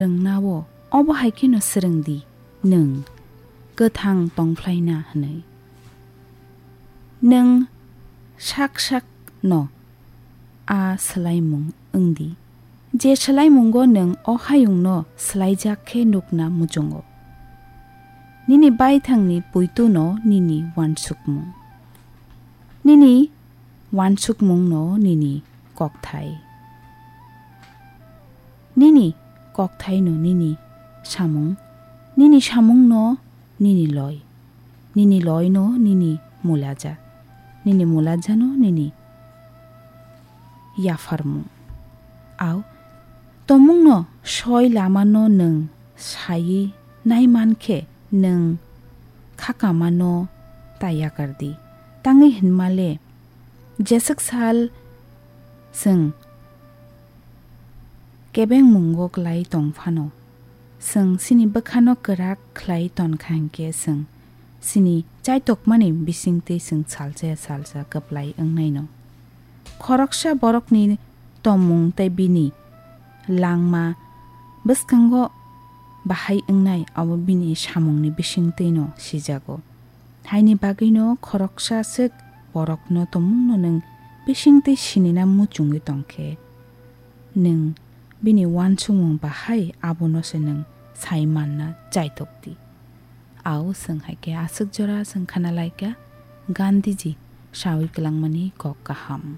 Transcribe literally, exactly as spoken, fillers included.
rwngnao obo hai kheno swrwng di, nwng kwthang tongphlaina hwnwi. Nwng sak sak no a swlaimung wng di, je swlaimungo nwng o hayungno swlaijak khe nukna muchungo. Nini baithangni puituno nini uansukmung, nini uansukmungno nini kokthai, nini kokthaino nini samung, nini samungno nini loi, nini loino nini mulaja, nini mulajano nini yapharmung. Au tomungno soi lamano nwng saiwi naiman khe nwng khakamano ta yakar di. Tangwi hwnmale, jeswk sal chwng kebengmungo klai tong phano, chwng chini bwkhano kwrak khlai ton kha hinkhe chwng chini chaitokmani bisingtwi chwng salsa salsa kwplai wngnaino. Khoroksa borokni tongmung tei bini langma bwskango bahai wngnai abo bini samungni bisingtwino sijago. Haini bagwino khoroksa swk borokno tongmungno nwng bisingtwi sinina muchungwi tongkhe, nwng bini uansukmung bahai abono se nwng sai manna chaitok di. Au chwng hai khe aswk jora chwng khana lai kha Gandhiji saui kwlangmani kok kaham.